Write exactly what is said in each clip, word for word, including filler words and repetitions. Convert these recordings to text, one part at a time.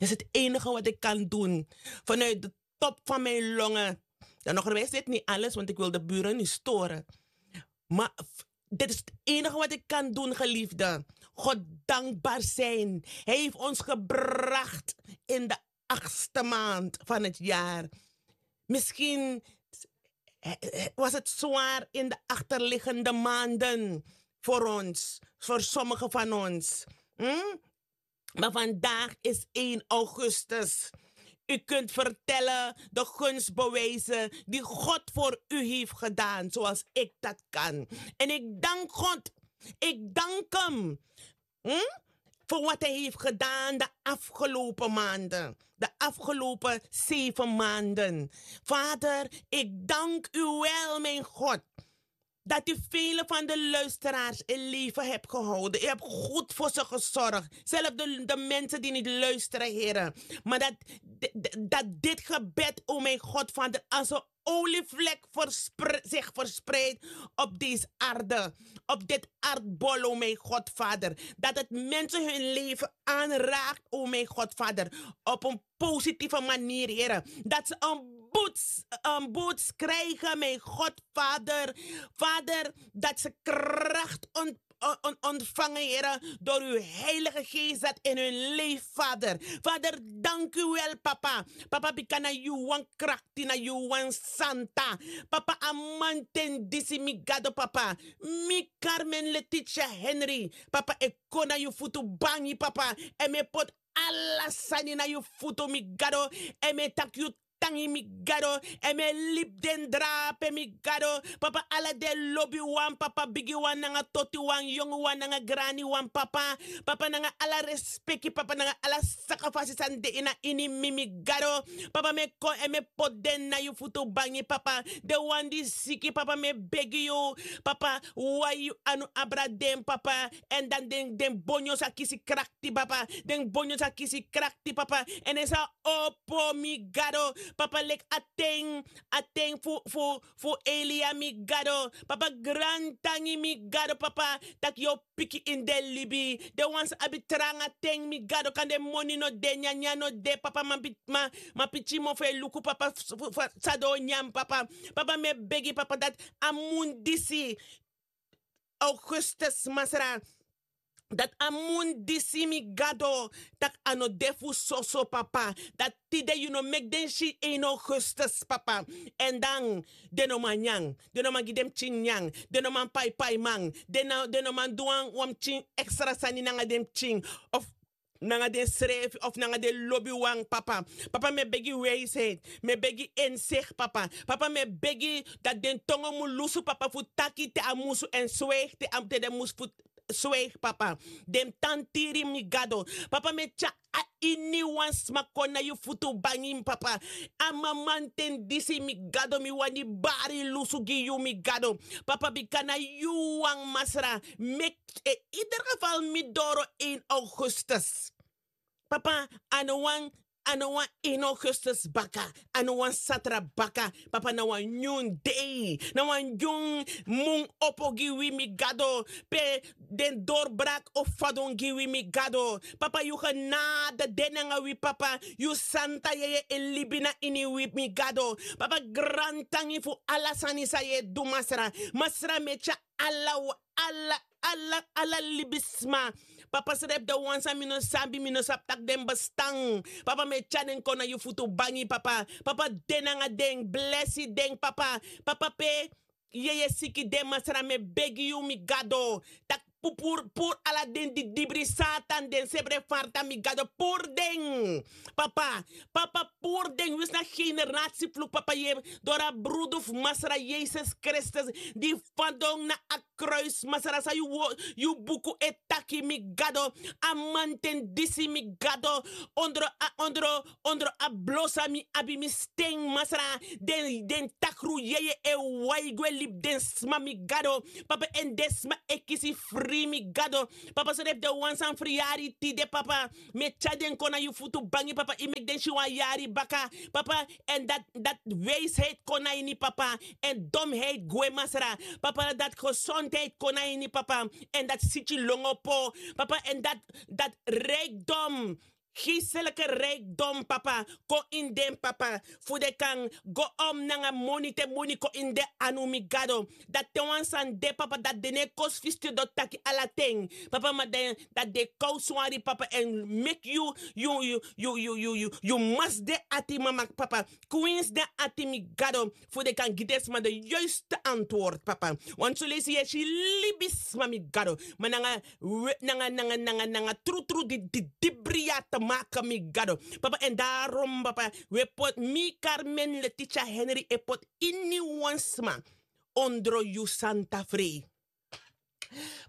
Is het enige wat ik kan doen. Vanuit de top van mijn longen. Dan nog wijs dit niet alles, want ik wil de buren niet storen. Maar dit is het enige wat ik kan doen, geliefde. God dankbaar zijn. Hij heeft ons gebracht in de achtste maand van het jaar. Misschien was het zwaar in de achterliggende maanden voor ons, voor sommigen van ons. Hm? Maar vandaag is één augustus. U kunt vertellen de gunstbewijzen die God voor u heeft gedaan, zoals ik dat kan. En ik dank God. Ik dank Hem. Hm? Voor wat Hij heeft gedaan de afgelopen maanden. De afgelopen zeven maanden. Vader, ik dank U wel, mijn God, dat U vele van de luisteraars in leven hebt gehouden. U hebt goed voor ze gezorgd. Zelfs de, de mensen die niet luisteren, Here. Maar dat, dat dit gebed, o mijn God, Vader, als een olievlek zich verspreidt op deze aarde, op dit aardbol, o mijn God, Vader. Dat het mensen hun leven aanraakt, o mijn God, Vader, op een positieve manier, Here. Dat ze een boots, een boots krijgen, mijn God, Vader. Vader, dat ze kracht ont, ontvangen, Here, door Uw Heilige Geest dat in hun leven, Vader. Vader, dank U wel, Papa. Papa, bika na Yu wan krakti, na Yu wan santa. Papa, a mamanten disi, mi Gado, Papa. Mi Carmen Letitia Henry, Papa, e kon na Yu futu bangi, Papa. Èn mi e poti ala sani na Yu futu, mi Gado. Èn mi e taki Yu tangi, mi Gado. Èn mi e libi den drape, mi Gado. Papa, ala den lobiwan, Papa, bigiwan nanga totiwan, yonguwan nanga graniwan, Papa. Papa, nanga ala respeki, Papa, nanga ala sakafasi san de ini a ini mi, mi Gado. Papa, mi e kon èn mi e poti den na Yu futu bangi, Papa. Den wan di siki, Papa, mi e begi Yu, Papa, wai Yu anu abra den, Papa. Èn dan den, den bonyo sa kisi krakti, Papa. Den bonyo sa kisi krakti, Papa. Èn den sa opo, mi Gado. Papa, leki a ten, a ten fu, fu, fu Elia, mi Gado. Papa, grantangi, mi Gado, Papa, taki Yu o piki ini den libi. Den wan sa abi tranga ten, mi Gado, kande moni no de, nyanyan no de, Papa, ma, ma pikin mofo e luku, Papa, san den o nyan, Papa. Papa, mi e begi, Papa, dati a mun disi, augustus, Masra, dati a mun disi, mi Gado, taki a no de fu soso, Papa. Dati tide Yu no meki den si één augustus, Papa. Èn dan den no man nyan, den no man gi den pikin nyan, den no man paipaiman, den no man du wan, wan pikin ekstra sani nanga den pikin, of nanga densrefi, of nanga den lobiwan, Papa. Papa, mi e begi wijsheid, mi e begi inzicht, Papa. Papa, mi e begi dati den tongo mu lusu, Papa, fu taki te a musu, èn swijgi te a, te den musu fu swijgi, Papa. Den tantiri, mi Gado. Papa, mi e tyari a iniwan sma kon na Yu futu bangi, Papa. A mamanten disi, mi Gado, mi wani bari lusu gi Yu, mi Gado. Papa, bika na Yu wan, Masra. Meki, in ieder geval, mi doro één augustus. Papa, a no wan, a no wan één augustus baka, a no wan satra baka, Papa, na wan nyun dei, na wan nyun mun opo gi wi, mi Gado, pe den dorbrak o fadon gi wi, mi Gado. Papa, Yu genade de nanga wi, Papa. Yu santa yeye e libi na ini wi, mi Gado. Papa, grantangi fu ala sani san Yu e du, Masra. Masra, mi e tyari ala, ala, ala, ala libisma. Papa, srefi den wan san mi no sabi, mi no sabi taki den bestan. Papa, mi e tyari den kon na Yu futu bangi, Papa. Papa, de nanga den, blesi den, Papa. Papa, pe yeye siki de, Masra, mi e begi Yu, mi Gado, taki puru, puru ala den didibri, Satan, den sebre farta, mi Gado, puru den. Papa, Papa, puru den, winsi na generatiefluku, Papa, Yu e doro a brudu fu Masra Yesus Kristus di fadon na a kruis, Masra, san Yu wo, Yu buku e taki, mi Gado. A mamanten disi, mi Gado, ondro a, ondro, ondro a blo san mi abi, mi sten, Masra, den, den takru yeye e wai gwe libi den sma, mi Gado. Papa, èn den sma e kisi fri, mi Gado. Papa, srefi den wan san friyari tide, Papa, mi e tyari den kon na Yu futu bangi, Papa. Yu meki den si wan yari baka, Papa. Èn dati, dati wijsheid kon na ini, Papa. Èn domheid gwe, Masra. Papa, dati gezondheid kon na ini, Papa. Èn dati siki lon opo, Papa. Èn dati, dati rijkdom Geistelike rijkdom papa, kon ini den papa, fu den kan go om nanga moni te moni kon ini den anu mi gado. Dati te wan sani de papa, dati den no e kosi fu stiri doti taki ala ten papa, ma den dati den e kowswari papa, èn meki yu yu yu yu yu yu yu yu masi den ati mama papa. Kwinsi den ati mi gado, fu den kan gi den sma den yoiste antword papa. Wantu leisi yu e si libisma mi gado, ma nanga we nanga nanga nanga nanga trutru di di dibri ya te maki mi gado. Papa èn darom papa, wi e poti mi karmen letitia henri e poti iniwan sma ondro yu santa frei.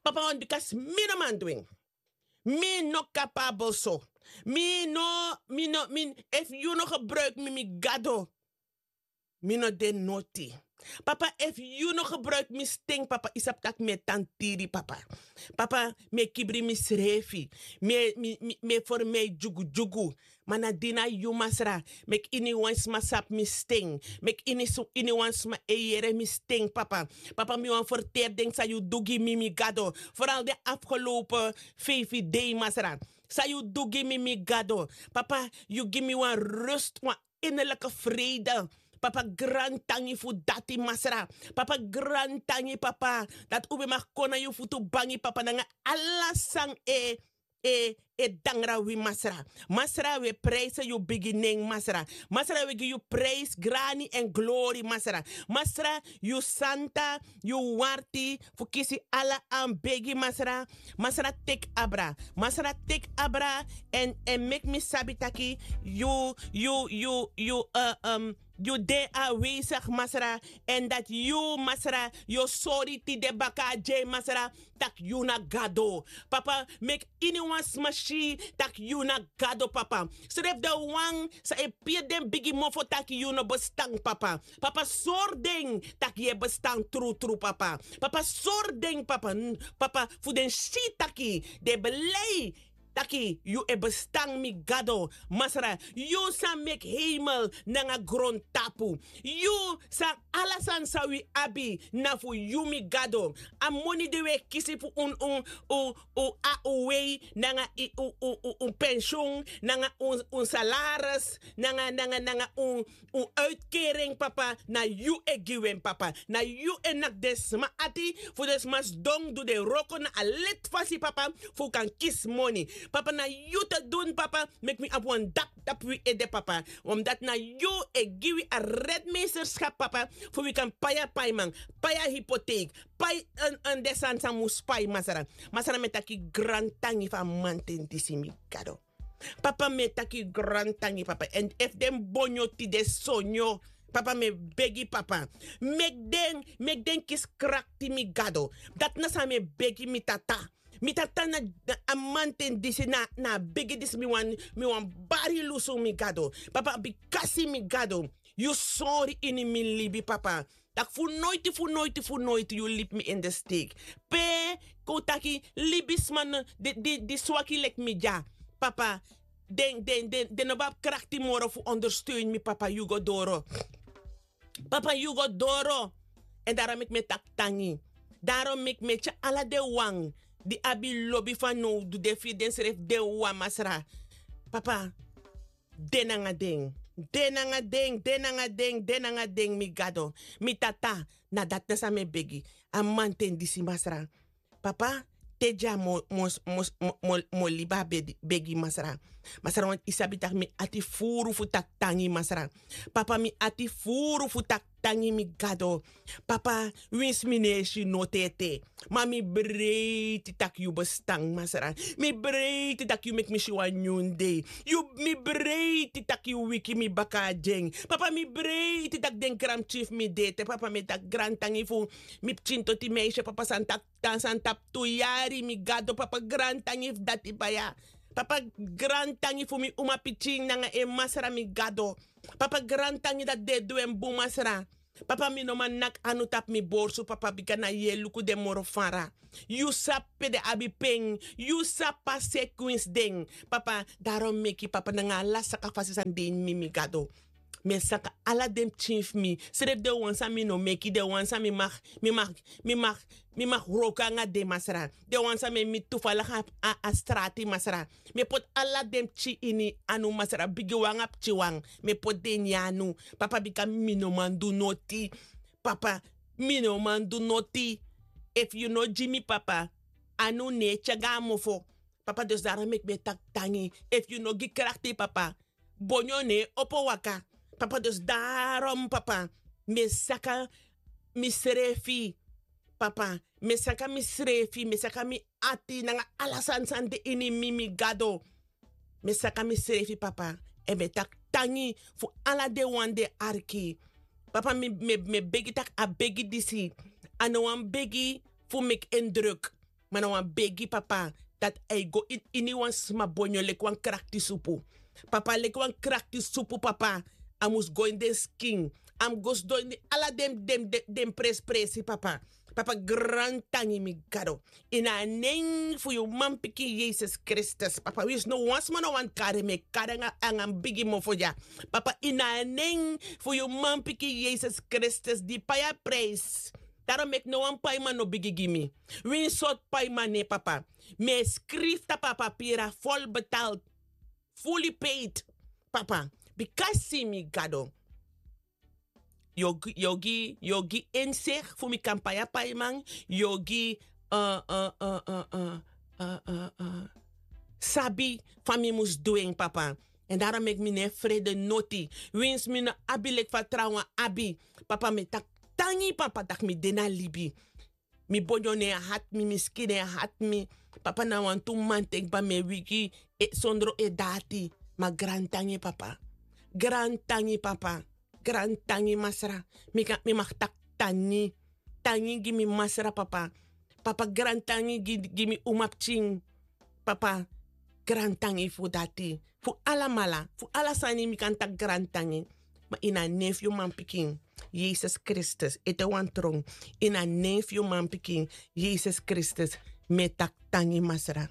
Papa wantu bika si mi no man du en. Mi no kapabel so. Mi no mi no mi efu yu no gebruiki mi mi gado, mi no de noti. Papa efu yu no gebruiki mi sten papa yu sabi tak' mi e tan tiri papa. Papa mi e kibri misrefi. Mi e mi mi mi e formei dyugudyugu. Ma na di na yu masra, meki iniwan sma sabi mi sten. Meki iniwan sma e yere mi sten papa. Papa mi wani ferteri den san yu du gi mi mi gado, foral den afgelopen feifi dei masra. San yu du gi mi mi gado, papa yu gi mi wan rust wan innerlike freide. Papa grantangi fu dati masra. Papa grantangi papa, dati un ben maki kon na yu futu bangi papa nanga ala san e e e dangra wi masra. Masra wi e prijse yu bigi nen masra. Masra wi e gi yu prijsi grani èn glori masra. Masra yu santa, yu warti fu kisi ala an begi masra. Masra teki abra. Masra teki abra. Èn èn meki mi sabi taki yu yu yu yu yu de awesigi masra. Èn dati yu masra yu o sori tide baka a dyei masra, tak' yu na gado. Papa meki iniwan sma si tak' yu na gado papa. Srefi den wan san e piri den bigi mofo tak' yu no bestan papa. Papa sori den tak' yu e bestan trutru papa. Papa sori den papa papa fu den si taki den e blei taki yu e bestan mi gado. Masra yu san meki heimel nanga grontapu. Yu san ala sani san wi abi na fu yu mi gado. A moni di wi e kisi fu un un un un a un wei nanga un un un un pensyun nanga un un salaris nanga nanga nanga un un uitkering papa na yu e gi wi en papa. Na yu e naki den sma ati fu den sma sidon du den wroko na a leti fasi papa fu un kan kisi moni. Papa na yu te dun papa. Meki mi abi wan dap tapu wi ede papa. Omdati na yu e gi wi a redmeisterskap papa, fu wi kan pai a paiman, pai a hipoteik, pai an den sani san mus pai masra. Masra mi e taki grantangi fu a manten disi mi gado. Papa mi e taki grantangi papa èn efu den bonyo tide sonyo, papa mi e begi papa, meki den meki den kisi krakti mi gado. Dati na san mi e begi mi tata. Mi tata na a manten disi na a begi disi mi wani mi wani bari lusu mi gado. Papa bikasi mi gado, yu sori ini mi libi papa, tak' fu noiti fu noiti fu noiti yu libi mi ini de steik. Pe kon un taki libisma di swaki leki mi dya, papa den den den no ben abi krakti moro fu ondersteun mi papa yu go doro. Papa yu go doro. Èn darom meki mi e taki tangi. Darom meki mi e tyari ala den wan di abi lobi fanowdu den firi densrefi den wawan masra. Papa, de nanga den, de nanga den de nanga den de nanga den mi gado. Mi tata, na dati na san mi e begi a manten disi masra. Papa, te dya mi o libi a begi masra. Masra wantu yu sabi tak' mi ati furu fu taki tangi masra. Papa mi ati furu fu taki tangi mi gado. Papa, winsi mi no e si noti ete, ma mi breiti tak' yu bestan masra. Mi breiti tak' yu meki mi si wan nyun dei. Mi breiti tak' yu wiki mi baka a dyen. Papa mi breiti tak' den granpikin fu mi de ete papa mi e taki grantangi fu mi pikin toti meisi papa san taki tan san tapu tu yari mi gado papa grantangi fu dati baya. Papa grantangi fu mi umapikin nanga en masra mi gado. Papa grantangi dati den e du en bun masra. Papa mi no man naki anu tapu mi borsu papa bika na yu e luku den moro fara. Yu sabi pe den abi pen. Yu sabi a sekwinsi den. Papa, darom meki papa nanga ala saka fasi san de ini mi mi gado. Mi e saka ala den pikin fu mi, srefi den wan san mi no meki, den wan san mi mag mi mag mi mag mi mag wroko nanga den, masra. Den wan san mi e miti tufalaga a strati, masra. Mi e poti ala den pikin ini anu, masra, bigi wan nanga pikin wan. Mi e poti den ini anu, papa, bika mi no man du noti. Papa, mi no man du noti. Efu yu no gi mi, papa, anu no e tyari go na mofo. Papa, dus daro meki mi e taki tangi. Efu yu no gi krakti, papa, bonyo no e opo waka. Papa, dus daro, papa, mi e saka misrefi. Papa, mi e saka misrefi, mi e saka mi ati nanga ala sani san de ini mi, mi Gado. Mi e saka misrefi, papa, èn mi e taki tangi fu ala den wan di e arki. Papa, mi e begi tak' a begi disi a no wan begi fu meki en druk. Ma na wan begi, papa, dati a e go ini wan sma bonyo leki wan krakti supu. Papa, leki wan krakti supu, papa, a mus go ini den skin. A mus go sidon ini ala den den den prensprensi, papa. Papa, grantangi, mi Gado. Ini a nen fu yu manpikin Yesus Kristus, papa, winsi no wan sma no wani kari, mi e kari nanga mi bigi mofo dya. Papa, ini a nen fu yu manpikin Yesus Kristus di pai a prijs. Daro meki no wan paiman no bigi gi mi. Winsi sortu paiman no e, papa. Mi e skrifi tapu a papiri, a fol betalt, fuli peit, papa. Bikasi mi Gado, yu o gi yu o gi yu o gi insikt fu mi kan pai a paiman. Yu o gi sabi fa mi mus du en, papa. Èn daro meki mi no e frede noti. Winsi mi no abi leki fa trawan abi, papa, mi e taki tangi, papa, tak' mi de na libi. Mi bonyo no e hati mi, mi skin no e hati mi. Papa, na wantu manten kba mi e wigi sondro edati. Ma grantangi, papa. Grantangi, papa. Grantangi, masra. Mi kan mi mag taki tangi. Tangi gi mi masra, papa. Papa, grantangi gi mi umapikin. Papa, grantangi fu dati. Fu alamala, fu ala sani mi kan taki grantangi. Ma ini a nen fu yu manpikin Yesus Kristus, ete wan tron. Ini a nen fu yu manpikin Yesus Kristus, mi e taki tangi, masra.